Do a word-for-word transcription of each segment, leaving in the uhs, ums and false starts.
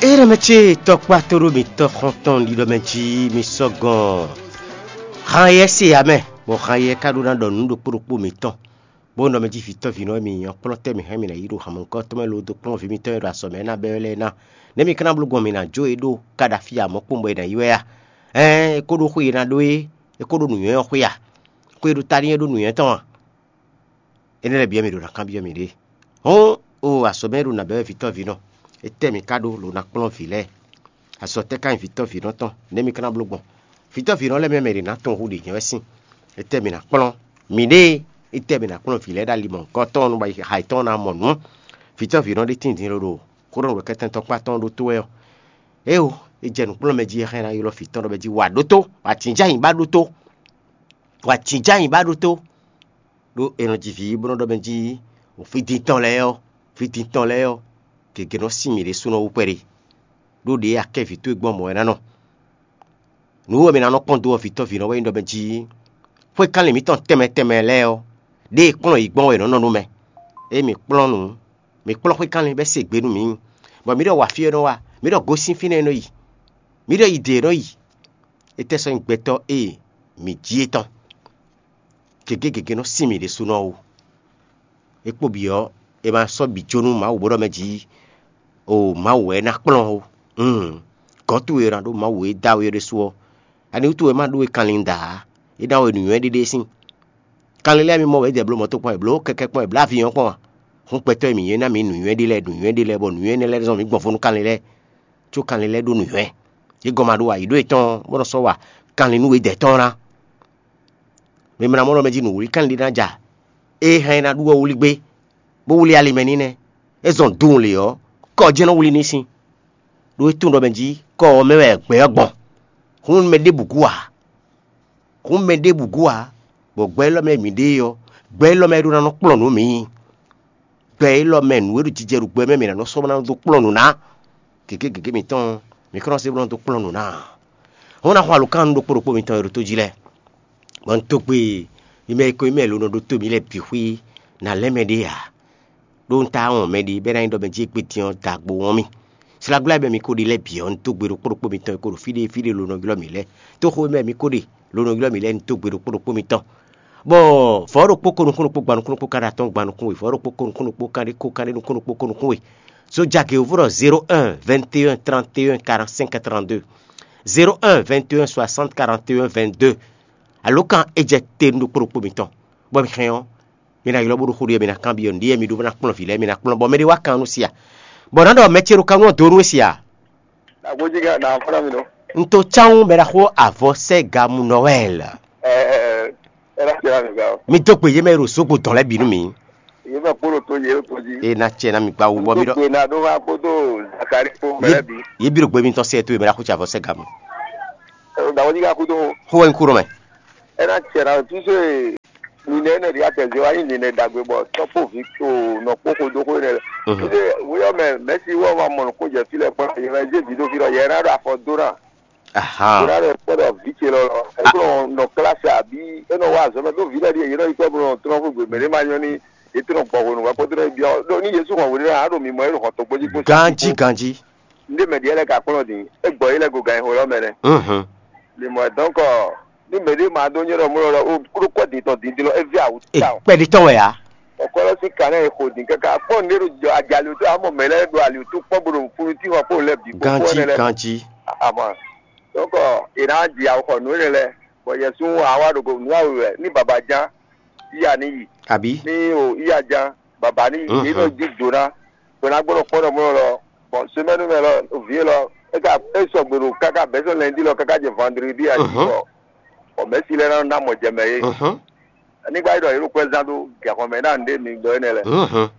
Ée ɖɔ mɛ ce tɔkpá tó ɖo mǐtɔn xɔ́ntɔn ɖiɖɔ mɛ jí mi sɔ́ gɔn han yɛ se ǎ mɛ, bɔ han yɛ ka ɖó ná ɖɔ nǔ ɖokpó ɖokpó mǐtɔn, bó nɔ mɛ jí vǐtɔ́ vǐnɔ e mi nyí ɔ́ kplɔ́n tɛ́ mǐ hɛn mǐ ná yi ɖo hanmɔ̌kɔ́tɔ́ mɛ lo dó kplɔ́n vǐ mitɔn e ɖo azɔ̌ mɛ ná bɛ́ wɛ lɛ́ɛ ná. Nɛ̌ mi ka ná bló gbɔn mǐ ná jó e ɖó ka ɖo afí ǎ mɔ̌ kpowun bɔ è nǎ yi wɛ a? Ɛɛn, é kó ɖó xwe e ná ɖó é, é kó ɖó nǔnywɛ́ ɔ́ xwe a? Xwe e ɖo ta n'i é ɖó nǔnywɛ́ tɔn a? Énɛ́ lɛ́ɛ bǐ wɛ mǐ ɖo ná kanbyɔ́ mǐɖée. Hɔn, o azɔ̌ mɛ e ɖo nǎ bɛ́ wɛ vǐtɔ́ vǐnɔ, étɛ́ mǐ ka ɖó lǒ ná kplɔ́n vǐ lɛ́ɛ? Azɔ̌ tɛ́ ka nyí vǐtɔ́ vǐnɔ tɔn? Nɛ̌ mi ka ná bló gbɔn? Vǐtɔ́ vǐnɔ lɛ́ɛ mɛ mɛ ɖě ná tɔn hú ɖě nyɛ wɛ sín. Étɛ́ mǐ ná kplɔ́n miɖée? Étɛ́ mǐ ná kplɔ́n vǐ lɛ́ɛ ɖo ali mɔ̌hunkɔtɔn nú ha yětɔn ná mɔ nǔ? Vǐtɔ́ vǐnɔ ɖé tíin din ló ɖo xó ɖɔ nǔ wɛ kɛntɛ́ntɔ́kpá tɔn ɖótó wɛ ɔ́, éeǒ, é jɛ nǔkplɔ́nmɛ jí é hɛn ná ylɔ́ vǐ tɔn ɖɔ mɛ jí wa ɖótó, wa tǐnjá nyi ba ɖótó, wa tǐnjá nyi ba ɖótó. Ɖó è nɔ ji vǐ bó nɔ́ ɖɔ mɛ jí, fí din tɔn lɛ́ɛ ɔ́, fí din tɔn lɛ́ɛ ɔ́, gěgé nɔ sín mǐ ɖésúnɔ wú kpɛɖé. Ɖó ɖě akɛ́ vǐ towe gbɔn mɔ̌ wɛ ná nɔ. Nǔ e mɛ ná nɔ kpɔ́n dó ɔ́, vǐtɔ́ vǐnɔ wɛ nyí ɖɔ mɛ jí, xwé kanlin mǐtɔn tɛnmɛ tɛnmɛ lɛ́ɛ ɔ́, ɖěe kplɔ́n yǐ gbɔn wɛ è nɔ́ nɔ nú mɛ. Ée mǐ kplɔ́n nǔ, mǐ kplɔ́n xwé kanlin bɔ é se gbe nú mǐ, bɔ mǐ ɖɔ wa fí e nɔ wa, mǐ ɖɔ gosín fínɛ́ e nɔ yi, mǐ ɖɔ yi dě e nɔ yi. Étɛ́ sɔ́ nyí gbɛtɔ́ e mǐ jí é tɔn? Gěgé gěgé nɔ sín mǐ ɖésúnɔ ó. É kpo bǐ ɔ́, è ma sɔ́ bǐ jó nú Mawu bó ɖɔ mɛ jí, o Mawu wɛ é ná kplɔ́n ó. Ún, gɔ̌ towe e ná ɖó Mawu e dó awe ɔ́ ɖésú ɔ́, ani wútu wɛ é ma ɖó we kanlin da ǎ? É ná we nǔnywɛ́ ɖéɖé sín. Kanlin lɛ́ɛ mi mɔ wɛ é jɛ bló mɔ̌ tɔn kpɔ́n wɛ, bló kɛkɛ́ kpɔ́n wɛ, bló avi ɔ́ kpɔ́n a? Hún gbɛtɔ́ e mǐ nyí é ná mǐ nǔnywɛ́ ɖé lɛ́ɛ, nǔnywɛ́ ɖé lɛ́ɛ, bɔ nǔnywɛ́ énɛ́ lɛ́ɛ zɔn mǐ gbɔn fó nú kanlin lɛ́ɛ. Có kanlin lɛ́ɛ ɖó nǔnywɛ́. Yě gɔ́ ma ɖó ǎ, yě ɖó yětɔn bó nɔ sɔ́ wa kanlin nú we dɛ̌ tɔn ɔ́ ná. Mɛ e mlá mɔ ɖɔ mɛ jí nǔwlíkanlin ɖé ná ja, ée hɛn é ná ɖu ɔ́ wlí gbé, bó wlí ali mɛ n'i nɛ́. É zɔn dun lě ɔ́, kɔ jɛ́n nɔ wlí n'i sín. Ɖó é tunwun ɖɔ mɛ jí kɔ ɔ́ mɛ wɛ gbɛ̌ ɔ́ gbɔn. Hǔn mɛ ɖěbǔ gú ǎ. Hǔn mɛ ɖěbǔ gú ǎ, bɔ gbɛ élɔ́ mɛ mǐ ɖe é ɔ́, gbɛ élɔ́ mɛ é ɖó ná nɔ kplɔ́n nǔ mǐ. Gbɛ élɔ́ mɛ nǔ e ɖo jijɛ ɖo gbɛ mɛ mǐ ná nɔ sɔ́ ná dó kplɔ́n nǔ ná. Gěgé gěgé mǐtɔn, mǐ kɔn nɔ se bó nɔ dó kplɔ́n nǔ ná. Hɔn ná xɔ alǒkan nú ɖokpó ɖokpó mitɔn e ɖo tó jí lɛ́ɛ, bɔ un dó gbe mi mɛ e ko nyí mɛ e lo nɔ ɖótó mǐ lɛ́ɛ bǐ xwí ná lɛ́ mɛ ɖé ǎ. Ɖó un táá wɔn mɛ ɖé bɔ é ná nyí ɖɔ mɛ jí égbé din ɔ́ da agbo wɔn mì. Sláglá e mɛ mi ko ɖe lɛ́ɛ bǐ ɔ́, un dó gbe ɖokpó ɖokpó mitɔn e ko ɖo fí ɖé fí ɖé lo nɔ ylɔ́ mǐ lɛ́ɛ. Tóxo e mɛ mi ko ɖe lo nɔ ylɔ́ mǐ lɛ́ɛ, un dó gbe ɖokpó ɖokpó mitɔn. Bɔ vɔ̌ ɖokpó ko nukún ɖokpó gban nukún ɖokpó ka ɖo atɔ́ɔ́n gban nukún we, vɔ̌ ɖokpó ko nukún ɖokpó kanɖé ko kanɖé nukún ɖokpó ko nukún we. Zojagě wǒ ɖɔ zéro un vingt et un trente et un quarante-cinq trente-deux, zéro un vingt et un soixante quarante et un vingt-deux. Alǒkan e jɛ te nú ɖokpó ɖokpó mitɔn, bɔ mi hɛn ɔ́, mi ná ylɔ́ bó ɖo xó ɖi wɛ, mi ná kanbyɔ́ nǔɖé mi ɖó bó ná kplɔ́n vǐ lɛ́ɛ, mi ná kplɔ́n, bɔ mɛɖé wá kan nú sia, bɔ nǎ ɖɔ mɛ ce ɖo kan nú ɔ́ dó nú we sia. Agbójigá nà fɔ́nà mi nɔ. Un to cáwún bɛ ɖaxó avɔ sɛ́ gamu Noël. Ɛ ɛ ɛ ɛ ná tiɛ mi gá o. Mi dó gbe yé mɛ e ɖo zogbo dɔn lɛ́ɛ bǐ nú mi. Yé mɛ kpó ɖo tó yé ɖo tó jí. E na tiɛ na mi gba wu bɔ mi ɖɔ. Dó gbe na ɖó wá kpódó Zakari kpó mɛ lɛ́ɛ bǐ. Yé bí ɖo gbe mitɔn sɛ to yé mɛ ɖaxó tsi avɔ sɛ́ gamu. Ɛ o dàgbójigá kúdó. Xó wɛ ń kú ɖɔ mɛ. Ena tiɛ na tu se ninɛ ne ɖi atɛ zé wa nyi ninɛ dagbe bɔ tɔkpo vi to nɔkpo ko do ko ne. Ide wuyɔ mɛ mɛsi wɔ wa mɔ ko jɛ fi lɛ kpɔ ye wɛ je vi do fi lɔ ye na do afɔ do na. Aha. Ko na le kpɔ dɔ vi ce lɔ lɔ e ko nɔ klasi abi e nɔ wa zɔmɛ do vi lɛ di ye nɔ yi tɔ bo nɔ trɔ fu gbe mɛ ne ma nyɔ ni e to nɔ gbɔ ko nu wa ko to nɔ bi ɔ do ni Yesu kɔn wuli na a do mi mɔ e do xɔ to gbɔji ko. Ganji ganji. Nde mɛ diɛ lɛ ka kplɔn din e gbɔ yi lɛ go gan yi xo lɔ mɛ nɛ. Mhm. Limɔ donc ní mɛ ɖé ma dó nyɔ́ ɖɔ mɔ lɔ o kúrú kɔ din tɔn din din lɔ e vi awu ta o. Kpɛɖi tɔn wɛ ya. Ɔkɔlɔ si kan náà e xo din kaka kpɔn ne ɖo jɔ ajali to amɔ mɛ lɛ ɖo ali to kpɔ bo ɖo funu ti xɔ kpɔ lɛ bi kpɔ Ganji ne lɛ. Ganji. Ama donc e na di awu xɔ nu ne lɛ bɔ yɛ sun awa ɖo go nu awu wɛ ni baba jan iya ni yi Àbí? Ni o iya jan baba ni yi Mhm. Ni nɔ di do na. Bɔ na gbɔdɔ kpɔn ɖɔ mɔ lɔ bɔn semɛnu mɛ lɔ vie lɔ e ka e sɔgbe ɖo kaka bɛsɛ lɛndi lɔ kaka jɛ vandredi a Mhm. Bɔ bɔ mɛsi lɛ na na mɔ jɛmɛ ye Mhm. Anigba yi ɖɔ yelo kwɛ zan do gɛxɔ mɛ na nde mi dɔ enɛ lɛ Mhm.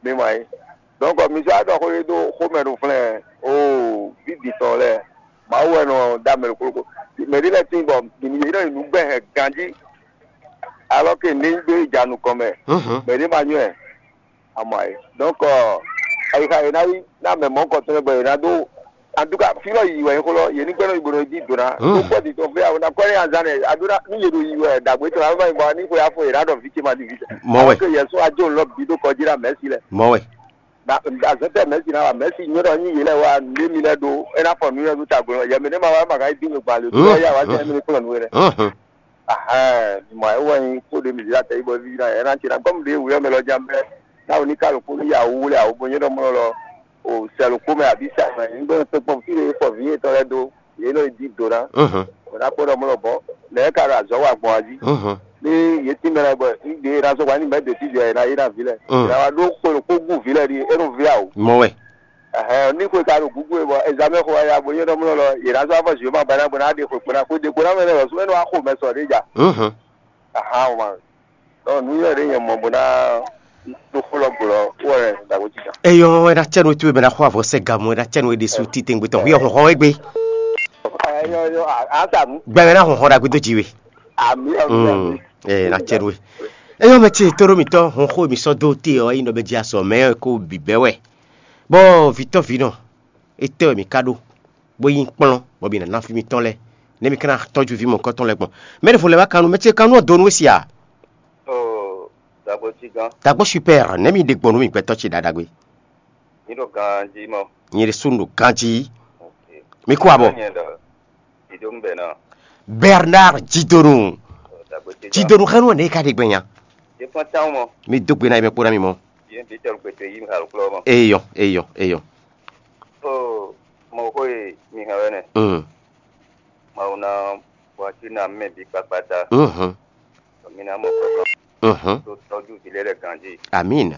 Mi ma yi donc mi sɔ adɔ xo ye do xomɛ ɖo flɛ o vi di tɔn lɛ mawu wɛ nɔ da mɛ ɖo koloko mɛ ɖi lɛ tin bɔ mi yi nɔ yi nu gbɛ hɛ ganji alors que ne gbe ja nukɔn mɛ Mhm. Mɛ ɖi ma nyɔɛ Amɔ ayi. Donc, ayixa e ná yi ná mɛ mɔ̌ kɔtɔn bɔ è nǎ dó. En tout cas, fí lɔ yi wɛ nyí xó lɔ, yě ní gbɛ́ nɔ yi bo nɔ yi dí dǒ ná. Tó kpɔ́ dǐtɔn fé awo ná kɔ́ ní azán nɛ, a ɖó ná ní yě ɖo yi wɛ ɖagbe tɔn ná má yi bɔ ní xwe afɔ yě ná ɖɔ vǐ ce ma ɖi vǐ ce. Mɔ̌ wɛ. Ke yɛ sún ajó lɔ bǐ ɖó kɔ jí ná mɛ̌si lɛ. Mɔ̌ wɛ. Azɔ̌tɛ́ mɛ̌si ná wa mɛ̌si nyɔ́ ɖɔ nyí yě lɛ́ɛ wá nǔɖé mi lɛ́ɛ ɖó é ná fɔ nǔ nyɔ́ ɖó tagbó lɔn yɛ mɛ ɖé ma wá ma ka yi dín gbegban le ɖó yá wá sɛ́ mi ní kplɔ́n nǔ we lɛ́ɛ. Ahɛn, mi mɔ ayé wɔ nyi kó ɖe mi zǐ atɛ yí bɔ ví ná yɛ ná ce ná gɔ́ mi ɖě wǔyɔ mɛ lɔ jan bɛ́ ná wò ní ká ɖo kpó ní yà wú lɛ àwòbó nyɔ́ ɖɔ mɔ lɔ o sɛ ɖo kpó mɛ abǐ sa mɛ ní gbɔn tɔn kpɔn fí ɖé fɔ vǐ yětɔn lɛ́ɛ dó yě nɔ yi dí do ná. Wǒ ná kpɔ́n ɖɔ mɔ lɔ bɔ nɛ̌ ka ɖo azɔ̌ wa gbɔn a jí ní yě tín mɛ lɛ́ɛ bɔ ní ɖě è nǎ zɔ́ wa ní mɛ ɖě tíjɔ è nǎ yé ná vǐ lɛ́ɛ è nǎ wá ɖó xwe ɖo kpó gú vǐ lɛ́ɛ ɖi é nɔ vǐ a o. Mɔ wɛ. Ɛhɛn, ní xwe ka ɖo gúgú e bɔ ezamɛ xo wá ya bo nyɔ́ ɖɔ mɔ lɔ yě ná zɔ́ afɔ zǐwé ma ba ná bɔ ná ɖe xwe kpo ná xwe ɖě kpo ná mɛ nɛ lɔ sún é nɔ wá xo mɛ sɔ ɖé ja. Ahán o ma. Ɔ nǔ nyɔ́ ɖě nyɛ mɔ bó ná ɖó xó lɔ gblɔ wɛ ɖaxó jí jan. Eyɔ, é ná cɛ́ nú towe bɛ ná xɔ avɔ sɛ gamɔ, é ná cɛ́ nú é ɖésú titewungbe tɔn. Yɔ hɔn hɔn égbé. Ɛyɔ yɔ asa nu. Gbɛmɛ ná hɔn hɔn ɖagbe dó jí we. Ami ami ami. Ɛ ná cɛ́ nú we. Eyɔ mɛ ce tó ɖó mi tɔ hɔn xó mi sɔ dó te ɔ yi nɔ bɛ jí asɔ mɛ ko bǐ bɛ wɛ. Bɔ vǐtɔ́ vǐnɔ, étɛ́ wɛ mi ka ɖó, bó yí kplɔ́n, bɔ mi ná ná fí mitɔn lɛ́ɛ, nɛ́ mi ka ná tɔ́jú vǐ mɔ̌hunkɔtɔn lɛ́ɛ gbɔn? Mɛ ɖěvo lɛ́ wá kanú, mɛ ce kanú ɔ́ donu we si a? Oo, dagbo cí gán. Dagbo super, nɛ́ mi ɖe gbɔn nú mi gbɛtɔ́ ce ɖaɖagbe. Ní ɖo ganjí mɔ. Nyɛ ɖésú ɖo ganjí. Mi kú abɔ. Nyɛ ɖɔ. Jidonu bɛ náà. Bernard Jidonu. Dagbo cí gán. Jidonu xɛnu ne ka ɖe gbɛnya. Yé fɔn táwọn mɔ. Mi dó gbe ná yɛ mɛ kpó ná mi mɔ. Yé bí tɔlù gbèsè yí mi xalù kplɔ́ mɔ. Eyɔ, eyɔ, eyɔ. Ó, mɔ xó e mi hɛn wɛ nɛ. Mm. Mawu ná bɔ así ná mɛ bǐ kpakpata. Mhm. Mi ná mɔ kɔkɔ. Mhm. Tó tɔjú vǐ lɛ́ɛ lɛ ganjí. Amin.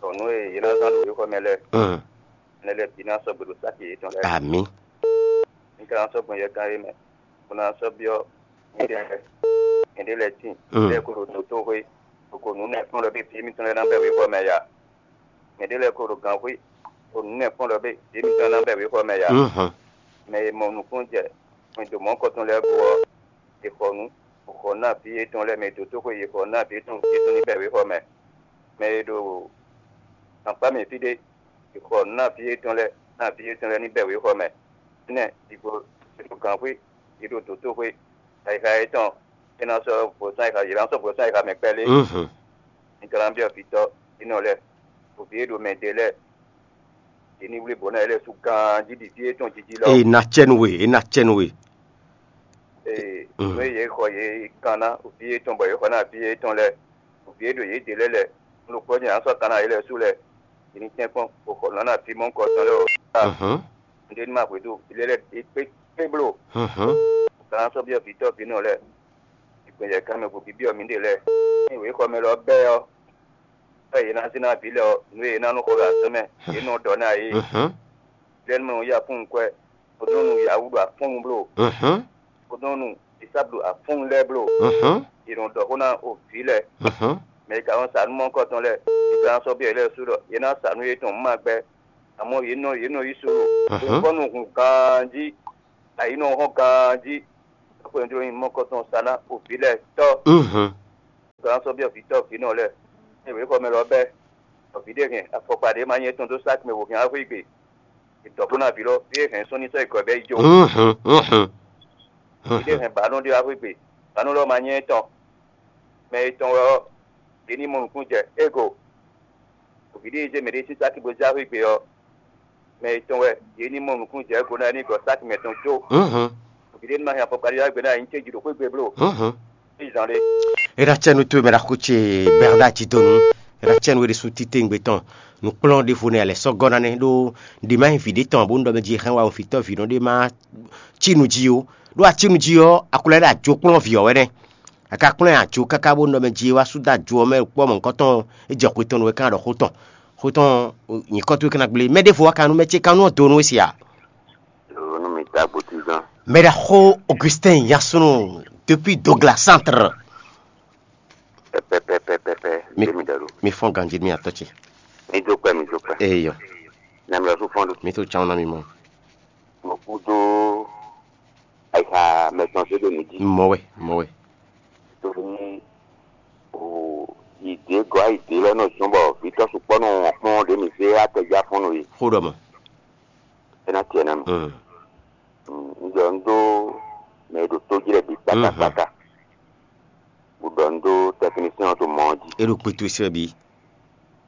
Tɔ nú e yě ná zán ɖo wéxɔ mɛ lɛ́ɛ. Mm. Mɛ lɛ́ɛ bǐ ná sɔgbe ɖo sáki yětɔn lɛ́ɛ. Amin. Mi ka ná sɔ́ gbɔn yɛkan é mɛ, bó ná sɔ́ byɔ́ nyɛɖé lɛ́ɛ. Nyɛɖé lɛ́ɛ tíin, lɛ́ɛ kó ɖo dǒtóxwé, bó ko nǔ nɛ́ kplɔ́n ɖɔ bé vǐ mitɔn lɛ́ɛ ná bɛ wěxɔ mɛ ya. Mɛɖé lɛ́ɛ ko ɖo gǎnxwé, bó nǔ nɛ́ kplɔ́n ɖɔ bé vǐ mitɔn lɛ́ɛ ná bɛ wěxɔ mɛ ya. Mɛ e mɔ nukúnnú jɛ, mɛ e ɖo mɔ̌ kɔtɔn lɛ́ɛ gbo ɔ́, è xɔ nǔ, bó xɔ ná vǐ yětɔn lɛ́ɛ, mɛ e dǒtóxwé è xɔ ná vǐ yětɔn, vǐ yětɔn ní bɛ wěxɔ mɛ. Mɛ e ɖo akpá mɛ fí ɖé, è xɔ nǔ ná vǐ yětɔn lɛ́ɛ, ná vǐ yětɔn lɛ́ɛ ní bɛ wěxɔ mɛ. Énɛ́, digbo è ɖo gǎnxwé, è ɖo dǒtóxwé, ayixa yětɔn, é ná sɔ́ vɔ̌sán ayixa, yě ná sɔ́ vɔ̌sán ayixa mɛ kpɛ́ lé. Mi ka ná byɔ́ vǐtɔ́, vǐnɔ lɛ́ɛ, ɖo vǐ e ɖo mɛ ɖe lɛ́ɛ, yě ní wlí bǒ ná yě lɛ́ɛ sú ganjí ɖi fí e tɔn jiji lɔ. Ee, ná cɛ nú we, é ná cɛ nú we. Ee, nǔ e yě xɔ yě kan ná vǐ yětɔn bɔ yě xɔ ná vǐ yětɔn lɛ́ɛ, vǐ e ɖo yě ɖe lɛ́ɛ lɛ́ɛ, un ɖo kplɔ́ jɛ́n ǎ sɔ́ kan ná yě lɛ́ɛ sú lɛ́ɛ, yě ní tɛ́nkpɔ́n bó xɔ nǔ ná fí mɔ̌hunkɔtɔn lɛ́ɛ ɔ́. Nǔɖé ní ma hwedó vǐ lɛ́ɛ lɛ́ɛ é kpé kpé bló. Kan ná sɔ́ byɔ́ vǐtɔ́ vǐnɔ lɛ́ɛ, ìgbɛ̀yɛ kan mɛ gbo bǐbyɔ́ mǐɖée lɛ́ɛ. Ényí wěxɔ mɛ lɔ bɛ́ ɔ́, bɔ yě ná zé ná vǐ lɛ́ɛ ɔ́, nǔ e yě ná nú xɔ ɖo azɔ̌ mɛ, yě nɔ ɖɔ ná yě. Lɛ́ɛ nú mɛ nɔ yí afúnnu kwɛ́, kpódó nú Yawu ɖo afúnnu bló, kpódó nú Esawu ɖo afúnnu lɛ́ɛ bló. Yě nɔ ɖɔ xó ná o vǐ lɛ́ɛ, mɛ e ka nɔ sa nú mɔ̌hunkɔtɔn lɛ́ɛ, yě ka ná sɔ́ byɔ́ yě lɛ́ɛ sú ɖɔ yě ná sa nú yětɔn ma gbɛ́. Amɔ̌ yě nɔ yě nɔ yí solo, yě kɔ nɔ hun ganjí, ayǐ nɔ hɔn ganjí. Xwɛndo nyi mɔkɔtɔn sa ná o vǐ lɛ́ɛ tɔ́. Gbǎn sɔ́ byɔ́ vǐtɔ́ vǐnɔ lɛ́ɛ, ée wěxɔ mɛ lɔ bɛ́, bɔ vǐ ɖé hɛn afɔkpa ɖé ma nyɛ tɔn dó sáki mɛ wǒ hɛn axwé gbe. È dɔ̌ bó ná vǐ lɔ, fí é hɛn sɔ́ ní sɔ́ yi gɔ̌ bɛ́ yi jó. Vǐ ɖé hɛn bǎnú ɖé axwé gbe, bǎnú lɔ ma nyɛ tɔn. Mɛ e tɔn wɛ ɔ́, yě ní mɔ nǔkún jɛ égo. Vǐ ɖé e zé mɛɖé sín sáki bó zé axwé gbe ɔ́, mɛ e tɔn wɛ yě ní mɔ nǔkún jɛ égo ná é ní gɔ̌ sáki mɛtɔn jó. Vǐ ɖé ní ma hɛn afɔkpa ɖé ɔ́ gbe ná é ní céji ɖo xwé gbe bló. Ní zan ɖé. É ná cɛ nú towe mɛ ɖaxó ce Bernard Jidonu, é ná cɛ nú we ɖésú titewungbe tɔn. Nǔkplɔ́n ɖěvo nɛ́ a lɛ̌ sɔ́ gɔ́ ná nɛ́ ɖó ɖě má nyí vǐ ɖé tɔn bó un ɖɔ mɛ jí hɛn wa un vǐtɔ́ vǐ nɔ ɖé má cí nǔ jí ó. Ɖó a cí nǔ jí ɔ́, a ko lɛ́ ɖo ajo kplɔ́n vǐ ɔ́ wɛ nɛ́. A ka kplɔ́n ɛ ajo káká bó nɔ mɛ jí wá sú dó ajo ɔ́ mɛ kpɔ́ mɔ̌hunkɔtɔn, é jɛ xwe tɔn nu wɛ ká ɖɔ xó tɔn. Xó tɔn nyǐkɔ towe ká ná gblé. Mɛ ɖěvo wá ka nú mɛ ce ka nú ɔ́ do nú we se a? Nú mi dó agbotizán. Mɛ ɖaxó Augustin Yansunu depuis Douglas Centre. Pɛpɛpɛpɛpɛ. Mi, mi ɖɔ ɖo. Mi fɔn ganji mi atɔ ce. Mi dó kpɛ, mi dó kpɛ. Eyɔ. Nami lɔ sún fɔn ɖo. Mi tó tsan na mi mɔ. Mo kú dó ayixa mɛtɔn zé ɖo mi jí. Mɔ wɛ, mɔ wɛ. Torí o ìdè gɔ́ ayìdè lɔ nɔ zɔn bɔ vǐtɔ́ sukpɔ́ nɔ wɔn kpɔ́n ɖě mi zé atɛjá fɔ́n nɔ yi. Xó ɖɔ mɔ. É ná tiẹ̀ ná mi. Mm. Mm, un ɖɔ un ɖó mɛ e ɖo tó jí lɛ́ɛ bǐ kpátákpátá. Un ɖɔ un ɖó tɛknisɛn ɔ́ ɖo mɔ ɔ́ jí. É ɖo kpé towe sɛ́ bǐ.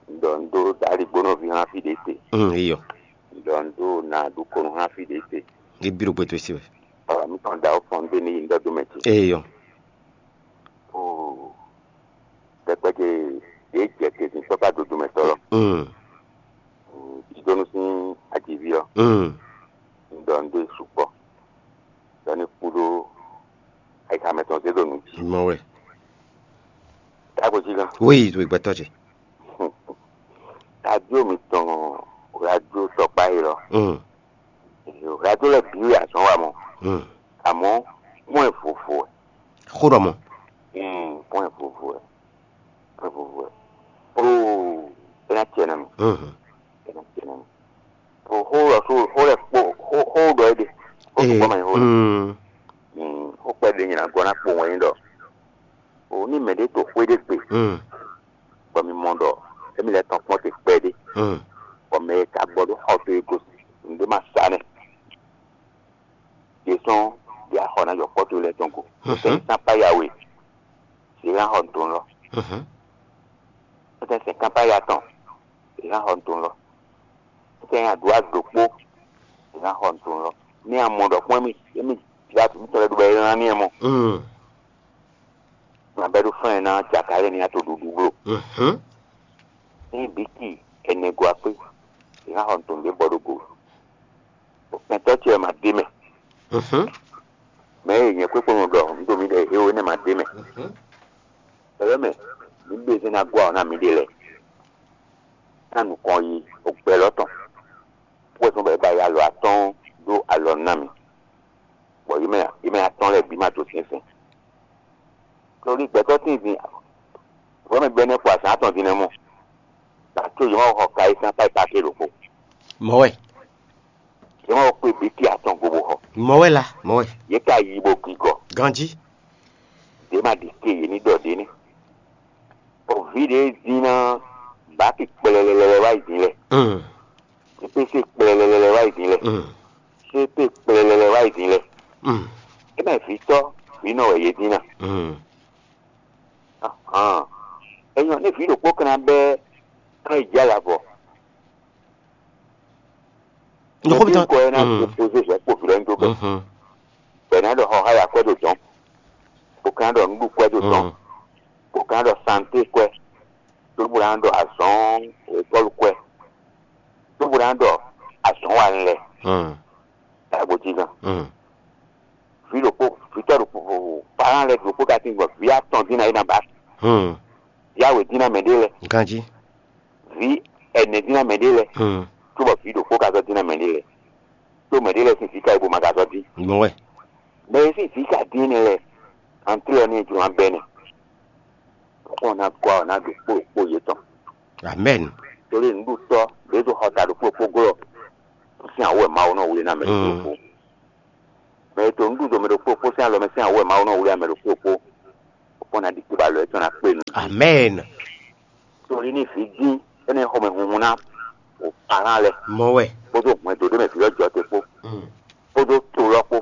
Un ɖɔ un ɖó dǎligbónɔ vi hã fí ɖě te. Mm, eyɔ. Ɖɔ un ɖó na ɖu konu hã fí ɖě te. Ibi ɖo gbɛtɔ si wɛ. Ɔ mi tɔn da ó fɔn ɖé ní yi ŋdɔ dó mɛ ce. Eyɔ. Oo. Ɖɛkpɛ ce ɖě jɛ te sin kpɔkpá dodo mɛ tɔ lɔ. Mm. Jidonu sín ajiví ɔ. Mm. Un ɖɔ un ɖó sukpɔ. Ɖɔ ní kúɖó ayixa mɛ tɔn zé ɖo nǔ jí. Mɔ wɛ. Tágo jí gán. Wéyi to gbɛtɔ ce. Radio mitɔn, radio tɔkpa yi lɔ. Mm. Radio lɛ bi wɛ azɔn wa mɔ. Mm. Àmọ́ pɔn ɛ vovo ɛ. Xó ɖɔ mɔ. Mm, pɔn ɛ vovo ɛ. Pɔn ɛ vovo ɛ. Oo, ena tiɛ na mi. Mhm. Ena tiɛ na mi. O xó lɔ so xó lɛ kpó xó xó ɖɔ é ɖe. Xó Ee, kpɔ́ ma nyí xó lɔ. Mm. Mm, xó kpɛ ɖe nyina gɔ́ ná kpo wɛn nyí ɖɔ. O ní mɛ ɖé to xwé ɖé gbe. Mm. Bɔ mi mɔ ɖɔ émi lɛ́ tɔn kpɔ́n te kpɛɖé. Mm. Bɔ mɛ e ka gbɔ ɖó xɔ towe gosín nǔɖé ma sa nɛ́. Yě sɔ́ yě axɔ ná yɔ kpɔ́ towe lɛ́ɛ tɔn go. Mhm. Sɛn sápá yawe, yě ná xɔ nǔ tɔn lɔ. Mhm. Sɛn sɛn kápá ya tɔn, yě ná xɔ nǔ tɔn lɔ. Sɛn adǔ adǒ kpó, yě ná xɔ nǔ tɔn lɔ. Ní a mɔ ɖɔ kpɔ́n émi émi jlá tǔ tɔn lɛ́ɛ ɖó bɔ é lán ní ɛ mɔ. Mm. Nabɛ́ ɖó fɛ́n ná jaka lɛ́ɛ ní a to ɖuɖu bló. Mhm. Ní bíkì ɛnɛ go akpé, è ná xɔ nǔ tɔn ɖě bɔ ɖó go. Kɛntɔ́ ce wɛ ma ɖ'é mɛ. Mhm. Mɛ e nyɛ kpékpé nɔ ɖɔ un ɖo mi ɖɛ éwo énɛ́ ma ɖ'é mɛ. Mhm. Bɛlɛ́ mɛ, mi ɖe zɛn ná gɔ́ awɔ ná mi ɖe lɛ. Ná nukɔn yi ogbɛ́ lɔ tɔn. Púpọ̀ tɔn bɛ ba yi alɔ atɔ́ɔ́n ɖó alɔ ná mi. Bɔ yi mɛ yi mɛ atɔ́ɔ́n lɛ́ɛ bǐ ma to syɛ́nsyɛ́n. Tlolí gbɛtɔ́ tín din, vɔ̌ mɛ gbɛ́nɛ́ kpo azǎn atɔn din nɛ́ mɔ. Bɔ ato yě ma xɔ ka yi sín akpá yi kpákpé ɖokpó. Mɔ̌ wɛ. Yě ma xɔ kpé bǐ ki atɔn go bó xɔ. Mɔ̌ wɛ la, mɔ̌ wɛ. Yě ka yi bó gigɔ. Ganjí. Dě ma ɖi ke yě ní ɖɔ ɖě nɛ́. Bɔ vǐ ɖě dín ná bǎki kplɛlɛlɛ wá yi din lɛ. Mm. Pépé kplɛlɛlɛ wá yi din lɛ. Mm. Sépé kplɛlɛlɛ wá yi din lɛ. Mm. É mɛ vǐtɔ́, vǐ nɔ wɛ yě dín ná. Mm. Ahán. Enyɔ ní vǐ ɖokpó kan ná bɛ́ kán yi jɛ alavɔ. Nɔxɔ mi tɔn. Kɔ ɛ ná Mm. Dépozé zɛ kpo vǐ lɛ́ɛ ní dó bɛ. Mhm. Bɛ ná ɖɔ xɔxáya kwɛ ɖo dɔn. Bó ka ná ɖɔ nǔɖukwɛ ɖo dɔn. Mm. Bó ka ná ɖɔ santé kwɛ. Tó bó ná ɖɔ azɔn ékɔlu kwɛ. Tó bó ná ɖɔ azɔn wa lɛ. Mm. Dagbo jí gan. Mm. Vǐ ɖokpó, vǐtɔ́ ɖokpó, parán lɛ ɖokpó ka tín gbɔn vǐ atɔn dín ná é ná ba. Hmm. Vǐ awe dín ná mɛ ɖé lɛ. Ganjí. Vǐ ɛnɛ dín ná mɛ ɖé lɛ. Hmm. Cóbɔ vǐ ɖokpó ka zɔ́ dín ná mɛ ɖé lɛ. Tó mɛ ɖé lɛ sín vǐ ka yi bó ma ka zɔ́ dín. Gbɔn wɛ. Mɛ e sín vǐ ka dín énɛ́ lɛ́ɛ, antlɔ́ ní jló abɛnɛ. Kɔn ná gɔ́ ná ɖo kpó ɖokpó yětɔn. Amɛn. Torí nǔɖutɔ́ ɖězo xɔ ta ɖo kpó ɖokpó glɔ́. Sín awɔ Mawu nɔ wlé ná mɛ ɖokpó ɖokpó. Mɛ e to nǔɖuɖu mɛ ɖokpó kpó sín alɔ mɛ sín awɔ Mawu nɔ wlí amɛ ɖokpó kpó, kpɔ́n ná ɖi kpé ba lɔ yětɔn ná kpé nu. Amɛn. Torí ní vǐ dín énɛ́ xɔmɛ hunhun ná o parán lɛ. Mɔ wɛ. Kpódó hwɛndo ɖé mɛ vǐ lɔ jɔ te kpó. Mm. Kpódó to lɔ kpó.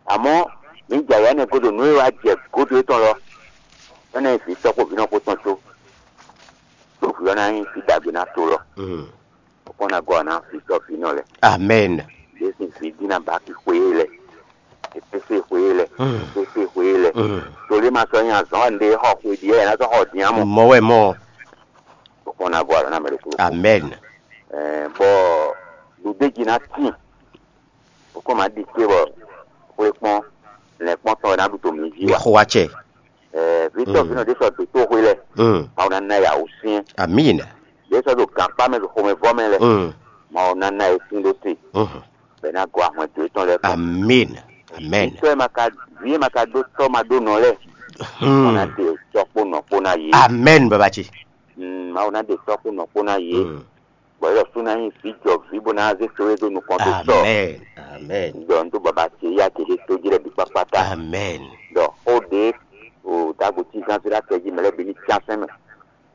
Àmọ́ mǐ jɛ ayǎ nɛ́ gúdo nǔ e wá jɛ gúdo étɔn lɔ. Énɛ́ vǐ tɔ́ kpó vǐ nɔ kpó tɔn tó. Ɖo vǐ ɔ́ ná nyí vǐ ɖagbe ná to lɔ. Mm. Kpɔ́n ná gɔ́ ná fi sɔ́ fi nɔ lɛ. Amɛn. Jésù fi dín ná bá fi xwé lɛ. Efese xwé lɛ. Mm. Efese xwé lɛ. Mm. Tolé ma sɔ́ nyí azɔn wa ndé xɔ xwé ɖi ɛ ná sɔ́ xɔ dín amɔ. Mɔ wɛ mɔ. Kpɔ́n ná gɔ́ ná mɛ ɖokpó. Amɛn. Ɛɛ bɔ ɖuɖéji ná tín. Kpɔ́n ma ɖi ké bɔ xwé kpɔ́n lɛ kpɔ́n tɔn ná ɖu to mǐ jí wa. Xɔ wa cɛ. Ɛɛ vitɔ fi nɔ ɖé sɔ do tó xwé lɛ. Mm. Mawu ná ná yà wú syɛn. Amina. Ɖé sɔ do gǎnkpá mɛ ɖo xomɛvɔ mɛ lɛ. Mm. Mawu ná ná yɛ sín ɖó te. Mhm. Bɛ ná gɔ ahɔn do étɔn lɛ kɔ. Amen. Amen. Tɔ ma ka vi ma ka ɖó tɔ ma ɖó nɔ lɛ. Hmm. Mawu ná de tɔ kpó nɔ kpó ná yé. Amen, baba ce. Mm, Mawu ná de tɔ kpó nɔ kpó ná yé. Mm. Bɔ yɔ sú ná nyí vǐ jɔ vǐ bó ná zé só é dó nukɔn tó sɔ. Amen. Amen. Dɔ n tó baba ce ya ke ɖé tó jí lɛ bí kpákpá ta. Amen. Dɔ xó ɖé o dago tí gán zé ɖá tɛ jí mɛ lɛ bí ní tián sɛn mɛ.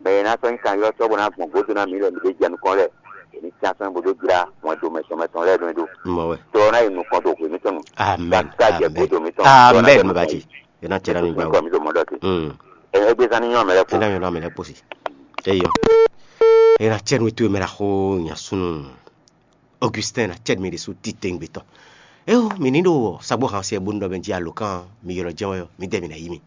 Mɛ e ná sɔ́ nyí kan ylɔ́ sɔ́ bó ná gbɔn gǒdo ná mǐ lɛ mǐ ɖé jɛ nukɔn lɛ. È ní tián sɛn bó dó jlá wɛn do mɛtɔn mɛtɔn lɛ́ɛ ɖó é ɖó. Mɔ wɛ. Tɔ ná yi nukɔn do hwe mítɔn nu. Amen. Ká jɛ Amen. Gǒdo mítɔn. Amen. Baba ce. Yena cɛ na mi gba. Kɔ mi do mɔ dɔ ke. Mm. Ɛ ɛgbɛ sani nyɔ mɛ lɛ kpo. Ena yɔ na mi lɛ kpo si. Eyɔ. É ná cɛ nú we towe mɛ ɖaxó nya súnnu Augustin ná cɛ mi ɖésú titewungbe tɔn. Éwo mi ní ɖo sagbó han siɛ bónú ɖɔ mɛ jí alǒkan mi ylɔ́ jɛ́n wɛ ɔ́, mi dɛ mi ná yí mi.